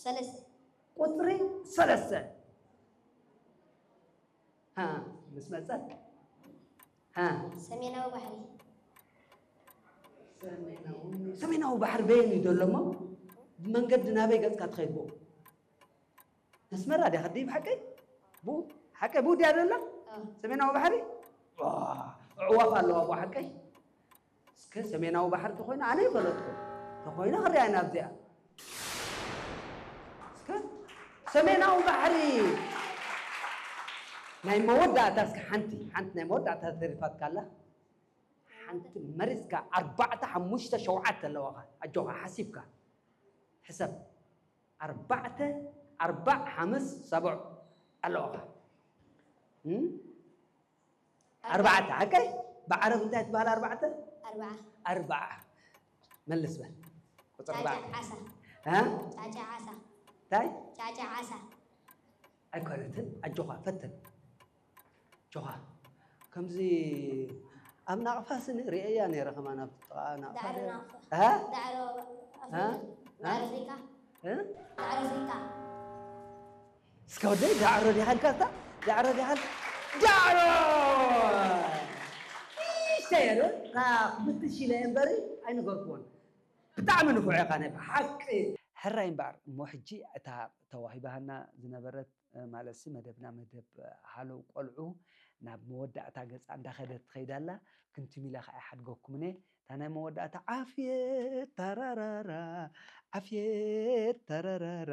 ሰለስተ። ቁፅሪ ሰለስተ። ሃ፣ ምስ መፀ። ሃ፣ ሰሜናዊ ባሕሪ። ሰሜናዊ ባሕሪ በየን እዩ ዘሎ እሞ? ብመንገዲ ናበይ ገፅካ ትኸይድ ብኡ? ኣስመራ ድያ ከዲ ብሓቀይ? ብኡ ሓቀይ ብኡ ድያ ዘላ? ኣዎ። ሰሜናዊ ባሕሪ? ዋ፣ ኣዕዋፍ ኣለዋ ብኡ ሓቀይ? እስከ ሰሜናዊ ባሕሪ ተኾይኑ ኣነ ይፈለጥኩ። ተኾይኑ ክሪኣ ኢና ኣብዚኣ። እስከ ሰሜናዊ ባሕሪ ናይ መወዳእታ እስከ ሓንቲ ሓንቲ ናይ መወዳእታ ተሪፋትካ ኣላ። ሓንቲ መሪፅካ ኣርባዕተ ሓሙሽተ ሸውዓተ ኣለዋኻ። ኣጆኻ ሓሲብካ ሕሰብ። ኣርባዕተ ኣርባዕ ሓምስ ሰብዕ ኣለዋኻ። እም? ኣርባዕተ ሓቀይ? ብዓረብ እንታይ ትበሃል ኣርባዕተ? ኣርባዓ። ኣርባዓ። መልስ በል። ቁፅሪ ጫጫ ኣርባዓ። ዓሳ። እ? ጫጫ ዓሳ። እንታይ? ጫጫ ዓሳ። ኣይኮነትን። ኣጆኻ ፈትን። ኣጆኻ። ከምዚ ኣብ ናቕፋ ስኒ ርእየያ ነይረ ከማን ኣብ ጥቓ ናቕፋ ዳዕሮ ነይረ። ናቕፋ። እ? ዳዕሮ ኣፍሪቃ። እ? ዳዕሮ ኣፍሪቃ። እ? ዳዕሮ ኣፍሪቃ። እስከ ወደይ ዳዕሮ ዲኻ ኢልካ እስታ? ዳዕሮ ዲኻ ኢልካ? ዳዕሮ! ንእሽተይ እየ ዶ? እታ ክፍትሽ ኢለ እየ እምበሪ ኣይነገርኩዎን። ብጣዕሚ ንፉዕ ኢኻ ናይ ብሓቂ። ሕራይ እምበኣር እሞ ሕጂ እታ ተዋሂባሃና ዝነበረት ማለትሲ መደብና መደብ ሃለው ቆልዑ ናብ መወዳእታ ገጻ እንዳኸደት ትኸይድ ኣላ። ክንቲም ኢለ ከዓ ይሓድገኩምነ እታ ናይ መወዳእታ ዓፍየት ተራራራ ዓፍየት ተራራራ